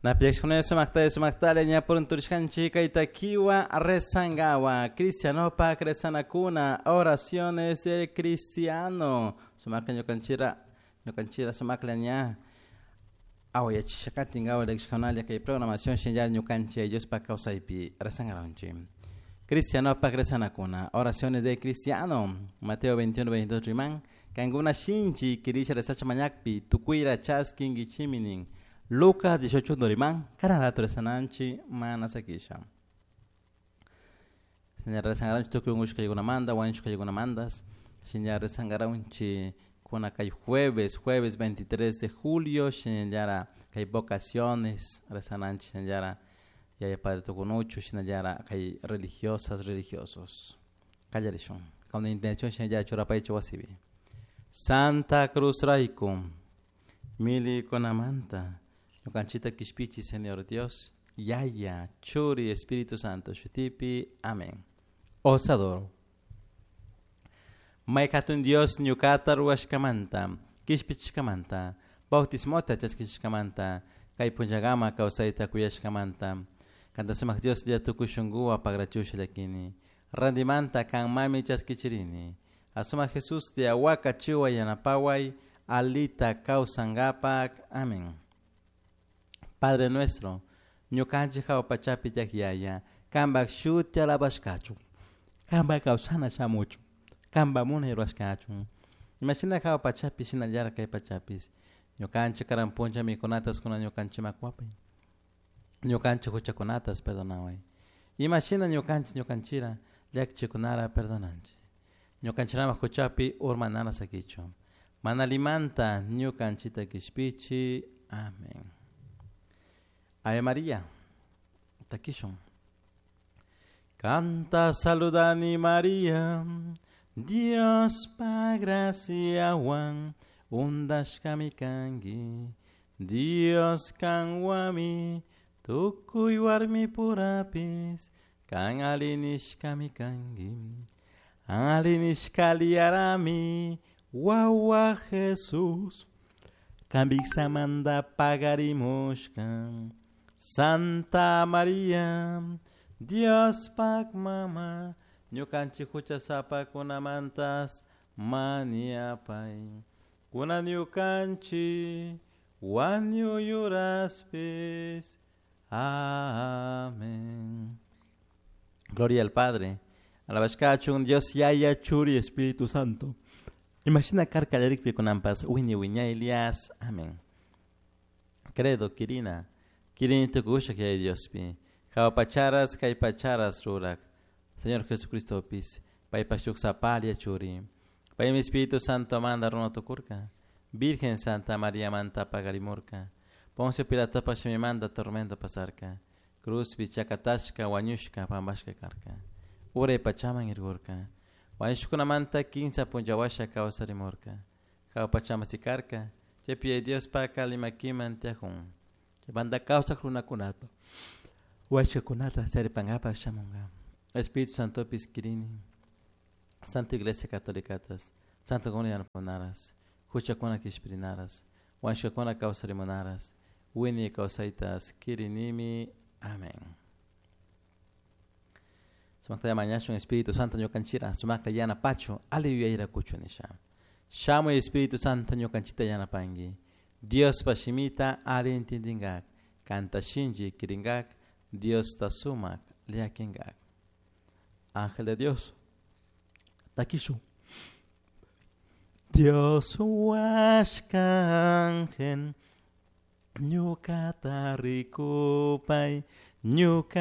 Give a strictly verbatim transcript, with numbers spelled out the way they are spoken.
Napiashkuna sumakta sumaktalla ña purunturishkanchik kay takiwa rezangawa cristianopak rezanakuna oraciones del cristiano sumakla ñukanchira ñukanchira sumakla ña awayachishakatinkawa llakishkunalla kay programación shinallar ñukanchik Diospak kawsaypi rezangaranchik. Cristianopak rezanakuna oraciones del cristiano Mateo veintiuno veintidós riman kankuna shinchi kirisha rezacha mañakpi tukuyra chaskinkichiminin Lucas dieciocho riman karan rato rezananchik mana sakisha. Señor rezangaranchik tukuy unkushkaykunamanta wañushkaykunamantas. Señor rezangaranchik kuna kay jueves jueves veintitrés de julio shinallara kay vocaciones rezananchik shinallara yaya padre tukunuchu shinallara kay religiosas religiosos. Kallarishun con intención shinallara churapaychu wasipi. Santa Cruz rayku milikunamanta ñukanchikta kishpichi Señor Dios, Yaya, Churi, Espíritu Santo, shutipi, amén. Osadoro. May hatun Dios ñukata ruwashkamanta, kishpichishkamanta, bautismota chaskishkamanta, kay punllakama kawsayta kuyashkamanta, kanta sumak Dios lla tukuy shunkuwan pagrachusha llakini, randimanta kanmami chaskichirini, asumak Jesús lla wakachiway yanapaway, alita kawsankapak, amén. Padre nuestro, ñukanchik hawa pachapi tiyak yaya, kanpak shuti alabashkachun, kanpak kawsana shamuchun, kanpak munay rurashkachun. Imashina hawa pachapi shinallara kay pachapis, ñukanchik karan punlla mikunatas kuna ñukanchikman kuwapay, ñukanchik huchakunatas perdonaway. Imashina ñukanchik ñukanchira llakichikunara perdonanchik. Ñukanchiraman huchapi urmanara sakichun. Mana limanta ñukanchita kishpichi. Amén. Ave María, takishun. Canta saludani María, Dios pa graciawan undashkami kanki, Dios kanwami tukuy warmi purapis, kan alinishkami kanki, alinishkaliarami wawa Jesús, kambiksamanta pagarimushka. Santa María, Dios pak mama, ñukanchik huchasapakunamantas maniapay, kunan ñukanchik wañuyuraspis. Amén. Gloria al Padre, alabashkachun Dios Yaya, Churi, Espíritu Santo. Imagina karkallarikpi kunanpas wiñay wiñay Elias. Amén. Credo, Kirina. Kirini tukushak Yaya Diospi. Hawa pacharas kay pacharas rurak. Señor Jesucristo pis. Paypak shuk sapalla churi. Paymi Espíritu Santo manda runa tukurka. Virgen Santa María manta pagarimurka. Poncio Pilatopa shimimanta tormento pasarka. Cruzpi chakatashka wañushka pampashka karka. Uray pachaman irgurka. Wañushkunamanta kinsa punllawasha kawsarimurka. Hawa pachaman sikarka. Chaypi Diospa limakiman tiyajun. Banda kawsak runakunata washkakunata charipankapak shamunka. Espíritu Santo kirini, Santa Iglesia Católicatas, Santa Comunidad yanapamunaras, huchakuna kishpirinaras, washkakuna kawsarimunaras, wiñay kawsaytas kirinimi. Amén. Sumakta mañashun Espíritu Santo ñukanchira, sumakta yanapachu, ali yuyayra kuchu nisha. Shamuy Espíritu Santo ñukanchita yanapanki. Diospa shimita ali entendingak, kanta shinchi kiringak, Dios ta sumak llakingak. Ángel de Dios, takishu. Dios huashka ángel, ñukata rikupay, ñuka